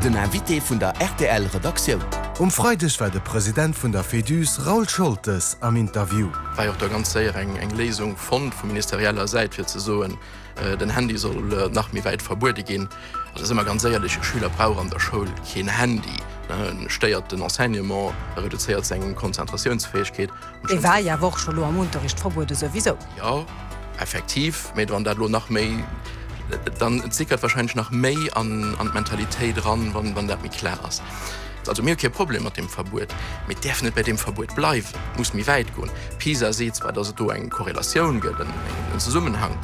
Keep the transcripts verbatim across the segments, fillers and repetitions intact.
Den Invité vun der R T L Redaktioun. Um Freideg war de President vun der Féduse Raoul Scholtes am Interview. War och da ganz séier eng eng Léisung fonnt vu ministerieller Säit fir ze soen, äh, den Handy soll äh, nach méi wäit verbuede ginn. Also si mer ganz éierlech, e Schüler brauch an der Schoul keen Handy. Ne, stéiert den Enseignement, reduzéiert seng Konzentratiounsfäegkeet. E war ja och scho lo am Unterricht verbuede souwisou. Ja, effektiv, mee wann dat lo nach méi dann sickert wahrscheinlech nach méi an an d'Mentalitéit ran, wann wann dat méi kloer ass. Also mir hu kee Problem mat dem Verbuet, mee et däerf net bei dem Verbuet bleiwen, muss méi wäit goen. PISA seet zwar, dass et do eng Korrelatioun gëtt, en, en Zesummenhang,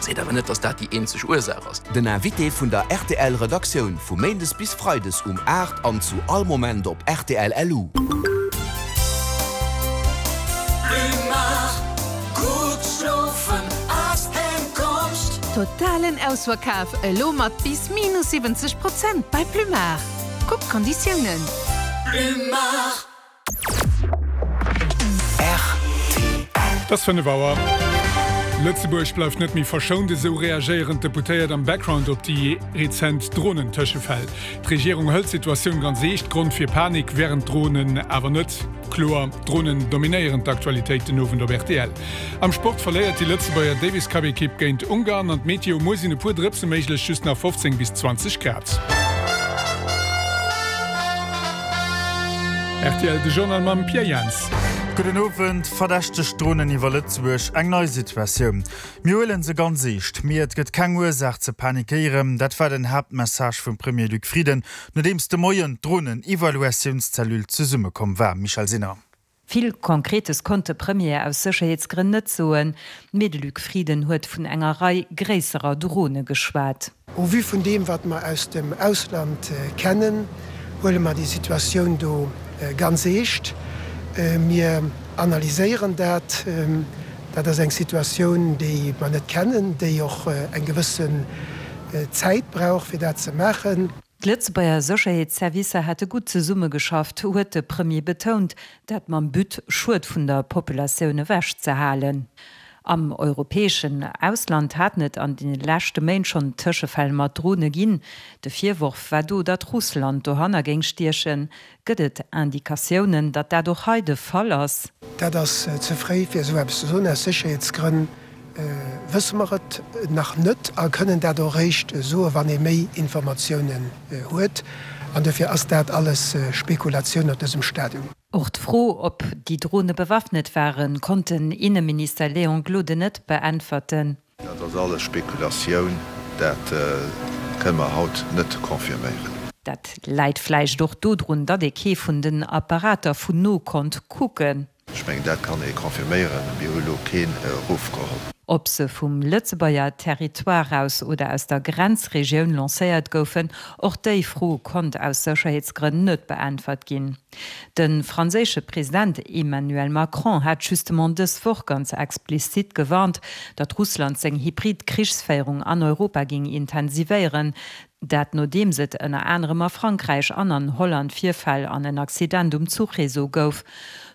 seet awer net, dass dat déi eenzeg Ursaach ass. Den Invité vun der R T L Redaktioun vu Méindes bis Freides um aacht an zu all Moment op R T L L U. Plumar, gutt schlofen ass eng Konscht. Totalen Ausverkaf elo mat bis minus siwwenzeg Prozent bei Plumar. Kuck d'Konditiounen. Plumar. Et ass fënnef Auer. Lëtzebuerg bleift net méi verschount, esou reagéieren d'Deputéiert am Background op déi rezent Dronentëschefäll. D'Regierung hëlt d'Situatioun ganz eescht, Grond fir Panik wären d'Dronen awer net. Kloer, Dronen dominéieren d'Aktualitéit den Owend op R T L. Am Sport verléiert déi Lëtzebuerger Davis Cup Ekipp géint Ungarn an d'Meteo: Muer sinn e puer Drëpse méiglech, just nach fofzéng bis zwanzeg Grad. R T L de Journal mam Pierre Jans. Gudden Owend. Verdächteg Dronen iwwer Lëtzebuerg, eng nei Situatioun. Mir huelen se ganz eescht, mee et gëtt keng Ursaach ze panikéieren. Dat war den Haaptmessage vum Premier Luc Frieden, nodeems de Moien d'Dronen-Evaluatiounscellule zesummekomm war. Michèle Sinner. Vill Konkretes konnt de Premier aus Sécherheetsgrënn net soen, mee de Luc Frieden huet vun enger Rei gréisserer Drone geschwat. Au vu vun deem, wat mer aus dem Ausland kennen, huele mer déi Situatioun do ganz eescht. Mir analyséieren dat. Dat ass eng Situatioun, déi mer net kennen, déi och eng gewëssen Zäit brauch, fir dat ze maachen. D'Lëtzebuerger Sécherheetsservicer hätte gutt zesummegeschafft, huet de Premier betount, dat mam But, Schued vun der Populatioun ewechzehalen. Am europäeschen Ausland haten et an de leschte Méint schonn Tëschefäll mat Drone ginn. De Virworf war do, datt Russland dohanner géing stiechen. Gëtt et Indikatiounen, datt dat och hei de Fall ass? Dat ass ze fréi fir esou eppes ze soen. Aus Sécherheetsgrënn wësse mer et nach net a kënnen dat och eréischt soen, wann ee méi Informatiounen huet. An dofir ass dat alles Spekulatioun op dësem Stadium. Och d'Fro, ob déi Drone bewaffnet waren, konnt den Inneminister Léon Gloden net beäntwerten. Dat ass alles Spekulatioun, dat kënne mer haut net confirméieren. Dat läit vläicht och dodrun, datt ee kee vun den Apparater vun no konnt kucken. Ech mengen, dat kann ee confirméieren, mir hu lo keen erofgeholl. Ob se vum Lëtzebuerger Territoire aus oder aus der Grenzregioun lancéiert goufen, och déi Fro konnt aus Sécherheetsgrënn net beäntwert ginn. De franséische President Emmanuel Macron hat justement dës Woch ganz explizit gewarnt, datt Russland seng Hybrid-Krichsféierung an Europa géing intensivéieren, dat nodeems et ënner anerem a Frankräich an an Holland Virfäll an en Accident um Zuchreseau gouf.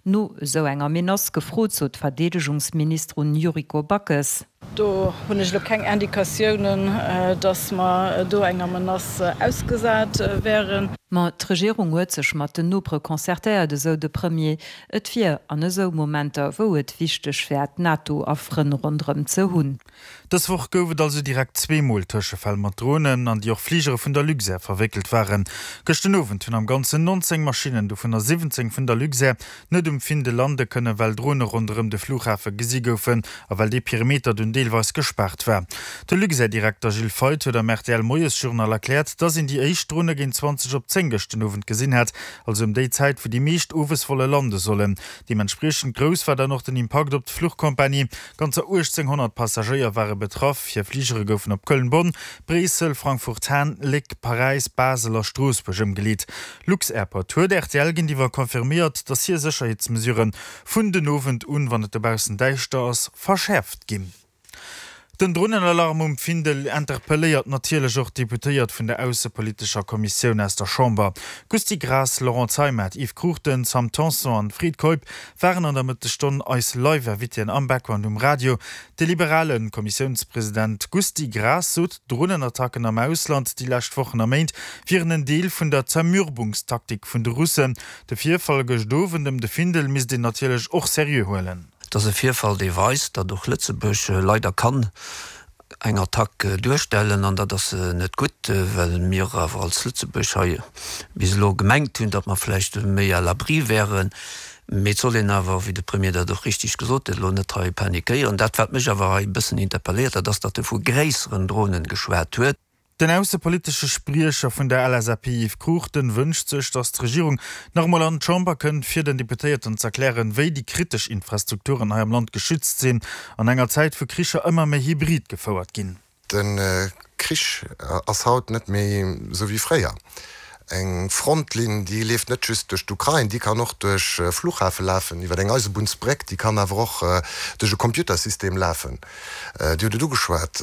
No esou enger Menace gefrot, sot d'Verdeedegungsministerin Yuriko Backes. Do hunn ech lo keng Indikatiounen, datt mer do enger Menace ausgesat wären. Ma d'Regierung huet sech mat den Nopere concertéiert, esou de Premier. Et wier an esou Momenter, wou et wichteg wär, d'NATO a Frënn ronderëm ze hunn. Dës Woch gouf et also direkt zweemol Tëschefäll mat Dronen, an déi och Fligere vun der Luxair verwéckelt waren. Gëschter den Owend hunn am Ganzen nonzéng Maschinnen, dovunner siwwenzéng vun der Luxair, net um Findel lande kënnen, well Drone ronderëm de Flughafe gesi goufen a well dee Perimeter dunn deelweis gespaart war. De Luxair-Direkter Gilles Feith huet am R T L-Moiesjournal erkläert, datt een déi éischt Drone géint zwanzeg op zéng gëschter den Owend gesinn hätt, also ëm déi Zäit, wou déi meescht Owesvolle lande sollen. Deementspriechend grouss war dann och den Impakt op d'Fluchkompanie. Ganzer uechtzénghonnert Passagéier ware betraff. Hir Fligere goufen op Köln, Bonn, Bréissel, Frankfurt-Hahn, Léck, Paräis, Basel a Stroossbuerg ëmgeleet. Lux-Airport huet R T L géintiwwer confirméiert, datt hir Sécherheetsmesurë vun den Owend un, wann et dobaussen däischter ass, verschäerft ginn. Den Dronenalarm um Findel interpelléiert natierlech och d'Deputéiert vun der aussepolitescher Kommissioun aus der Chamber. Gusty Graas, Laurent Zeimet, Yves Cruchten, Sam Tanson an Fred Keup waren an der Mëttesstonn eis Live-Invitéen am Background um Radio. De liberale Kommissiounspresident Gusty Graas sot, Dronenattacken am Ausland déi lescht Wochen a Méint wieren en Deel vun der Zermürbungstaktik vun de Russen. De Virfall gëscht Owend ëm de Findel misst een natierlech och seriö huelen. Et ass e Virfall, dee weist, datt och Lëtzebuerg leider kann eng Attack duerstellen, an dat ass net gutt, well mir awer als Lëtzebuerg hei bis elo gemengt hunn, datt mer vläicht méi à l'abri wären. Mee et soll een awer, wéi de Premier dat och richtig gesot huet, elo net hei panikéieren. Dat, wat mech awer hei e bëssen interpelléiert, dat ass, datt e vu gréisseren Dronen geschwat huet. Den aussepolitesche Spriecher vun der L S A P Yves Cruchten wënscht sech, datt d'Regierung nach emol an d'Chamber kënnt, fir den Deputéierten z'erklären, wéi déi kritesch Infrastrukturen hei am Land geschützt sinn, an enger Zäit wou Kricher ëmmer méi hybrid gefouert ginn. De Krich ass haut net méi esou wéi fréier. Eng Frontlinn, déi leeft net just duerch d'Ukrain, déi kann och duerch e Flughafe lafen, iwwer eng Eisebunnsbréck, déi kann awer och duerch e Computersystem lafen. Dir hutt et ugeschwat,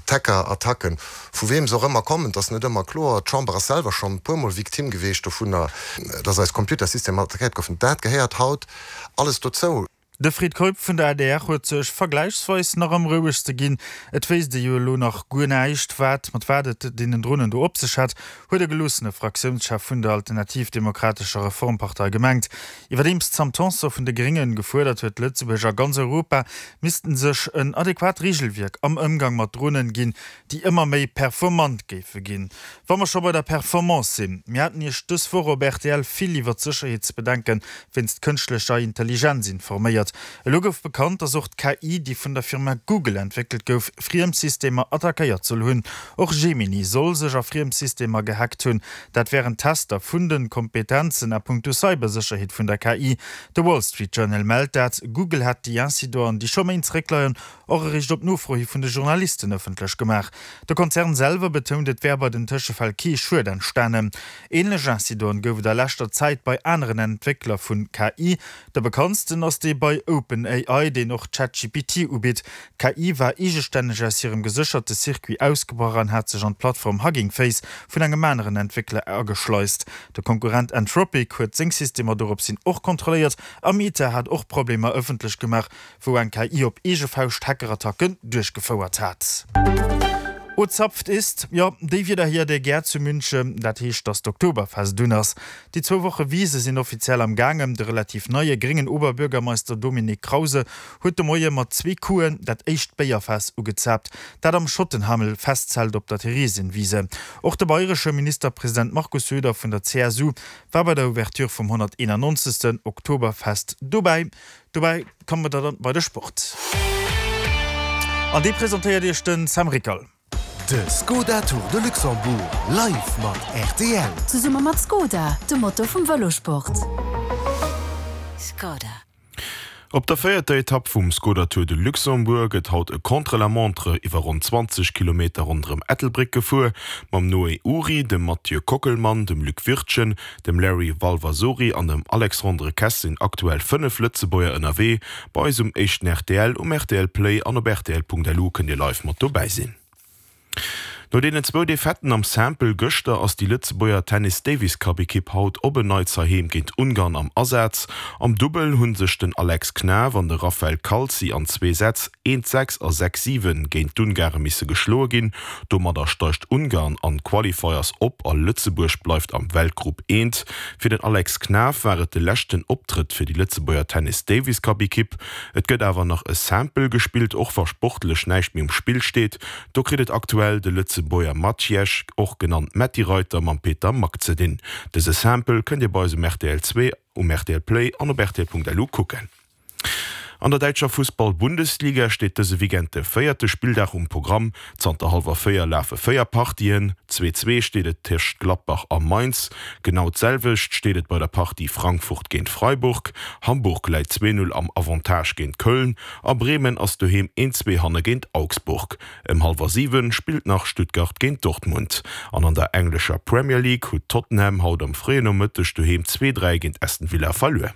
d'Hacker-Attacken, vu weem se och ëmmer kommen, et ass net ëmmer kloer. D'Chamber ass selwer schonn e puermol Victime geweecht dovunner, dass eis Computersystemer attackéiert goufen. Dat gehéiert haut alles dozou. De Fred Keup vun der A D R huet sech vergläichsweis nach am rouegste ginn. Et wéisst ee jo elo nach guer näischt, wat mat wat et deenen Dronen do op sech hätt, huet de geloossene Fraktiounschef vun der Alternativ-Demokratescher Reformpartei gemengt. Iwwerdeems d'Sam Tanson vun de Gréngen gefuerdert huet, Lëtzebuerg a ganz Europa missten sech en adequat Reegelwierk am Ëmgang mat Dronen ginn, déi ëmmer méi performant géife ginn. Wa mer scho bei der Performance sinn, mir haten Iech dës Woch op R T L vill iwwer d'Sécherheetsbedenke wéinst kënschtlecher Intelligenz informéiert. Elo gouf bekannt, dass och d'K I, déi vun der Firma Google entwéckelt gouf, friem Systemer attackéiert soll hunn. Och Gemini soll sech a friem Systemer gehackt hunn. Dat wären Tester vun de Kompetenzen a punkto Cybersécherheet vun der K I. De Wall Street Journal mellt dat. Google hätt déi Incidenten, déi scho Méint zeréckleien, och eréischt op Nofro hi vun de Journalisten ëffentlech gemaach. De Konzern selwer betount, et wär bei den Tëschefäll kee Schued entstanen. Änlech Incidenten gouf et a leschter Zäit bei aneren Entwéckler vu K I. De bekanntsten ass dee bei OpenAI, deen och ChatGPT ubitt. D'K I war eegestänneg aus hirem gesécherte Circuit ausgebrach an hat sech an d'Plattform Hugging Face vun engem aneren Entwéckler ageschleist. De Konkurrent Anthropic huet seng Systemer doropshin och kontrolléiert a Meta hat och Problemer ëffentlech gemaach, wou eng K I op eege Fauscht Hackerattacken duerchgefouert hat. O zapft ist, jo, déi Wieder hier der gär zu München, dat heescht, dass d'Oktoberfest dunn ass. Déi zwou Woche Wise sinn offiziell am Gaangen. De relativ neie gréngen Oberbürgermeister Dominik Krause huet de Moie mat zwee Couen dat éischt Béierfaass ugezaapt, dat am Schottenhamel Festzelt op der Theresienwiese. Och de bayresche Ministerpresident Markus Söder vun der C S U war bei der Ouverture vum honnerteenannonzegsten Oktoberfest dobäi. Dobäi komme mer dann bei de Sport. An dee presentéiert Iech den Sam Rickerl. De Skoda Tour de Luxembourg live mat R T L. Zesumme mat Skoda, dem Motor vum Vëlosport. Skoda. Op der véierter Etapp vum Skoda Tour de Luxembourg gëtt haut e Contre-la-montre iwwer ronn zwanzeg Kilometer ronderëm Ettelbréck gefuer. Mam Noé Ury, dem Mathieu Kockelmann, dem Luc Wirtgen, dem Larry Valvasori an dem Alexandre Kess sinn aktuell fënnef Lëtzebuerger ënnerwee. Bei eis um éischten R T L, um R T L Play an op R T L Punkt L U kënnt dir live mat dobäi sinn. No deenen zwou Defaitë am Simple gëschter ass déi Lëtzebuerger Tennis Davis Cup Ekipp haut op en Neits heiheem géint Ungarn am Asaz. Am Dubbel hu sech den Alex Knaff an de Raphael Calzi an zwee Sätz eent sechs a sechs siwen géint d'Ungare misse geschloe ginn. Domadder steigt Ungarn an d'Qualifiers op a Lëtzebuerg bleift am Weltgrupp eent. Fir den Alex Knaff war et de leschten Optrëtt fir déi Lëtzebuerger Tennis Davis Cup Ekipp. Et gëtt awer nach e Simple gespillt, och wa sportlech näischt méi um Spill steet. Do kritt et aktuell de Lëtzebuerger Maciej, och genannt Metti Reiter, mam Peter Mak ze dinn. Dëse Simple kënnt Dir bei eis um R T L zwee, um R T L Play an op R T L Punkt L U kucken. An der däitscher Fussball-Bundesliga steet dëse Weekend de véierte Spilldag um Programm. Zanter hallwer véier lafe véier Partien. Zwee zwee steet et tëscht Gladbach a Mainz. Genau d'selwecht steet et bei der Partie Frankfurt géint Freiburg. Hamburg läit zwee null am Avantage géint Köln a Bremen ass doheem een zwee hanne géint Augsburg. Ëm hallwer siwen spillt nach Stuttgart géint Dortmund. An an der englescher Premier League huet Tottenham haut am fréien Nomëtteg doheem zwee dräi géint Aston Villa verluer.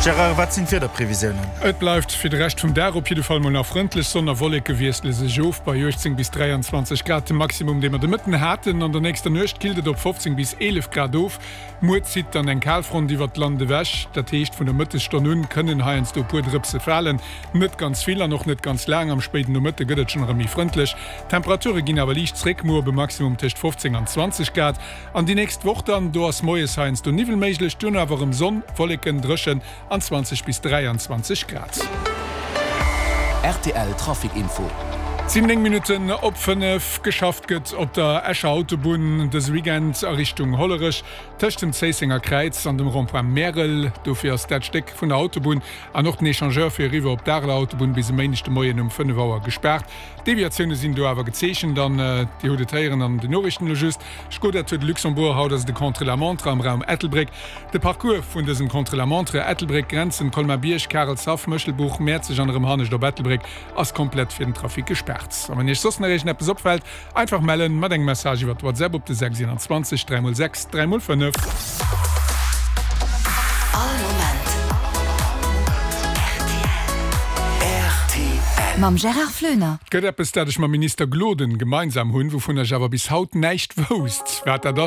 Gérard, wat sinn d'Wiederprevisiounen? Et bleift fir de Rescht vum Dag op jidde Fall mol nach frëndlech, Sonn a Wolleke wiessele sech of bei uechtzéng bis dräianzwanzeg Grad, de Maximum dee mer de Mëtten haten. An der nächster Nuecht killt et op fofzéng bis eelef Grad of. Muer zitt dann eng Kalfront iwwert d'Land ewech, dat heescht vun der Mëttesstonn un kënnen heiansdo e puer Drëpse falen, net ganz vill an och net ganz laang. Am spéiden Nomëtte gëtt et schonn erëm méi frëndlech, d'Temperature ginn awer liicht zréck, muer op e Maximum tëscht fofzéng an zwanzeg Grad. An déi nächst Woch dann, do ass moies heiansdo Niwwel méiglech, duerno awer erëm Sonn, Wolleken, dréchen an zwanzeg bis dräianzwanzeg Grad. Rtl Trafic Info. Et sinn néng Minutten op fënnef. Geschafft gëtt op der Escher Autobunn dëse Weekend a Richtung Hollerech, tëscht dem Zéissenger Kräiz an dem Rond-point Märel. Dofir ass dat Stéck vun der Autobunn an och den Echangeur fir eriwwer op d'Areler Autobunn bis e Méindeg de Moien um fënnef Auer gespaart. Deviatioune sinn do awer gezeechent an Dir hutt et héieren an den Noriichten elo just, Skoda Tour de Luxembourg, haut ass et e Contre-la-montre am Raum Ettelbréck. De Parcours vun dësem Contre-la-montre, Ettelbréck, Grenzen, Colmar-Bierg, Karelshaff, Méchelbuch, Mäerzeg an erëm hannescht op Ettelbréck, ass komplett fir den Trafic gespaart. A wann Iech soss nach iergendeppes opfält, einfach mellen mat engem Message iwwert WhatsApp op de sechs iwwerundzwanzeg dräi mol sechs dräi mol fënnef. All Moment rtl. Mam Gérard Floener. Et gëtt eppes, dat ech mam Minister Gloden gemeinsam hunn, wouvun ech awer bis haut näischt wousst, wat dat ass.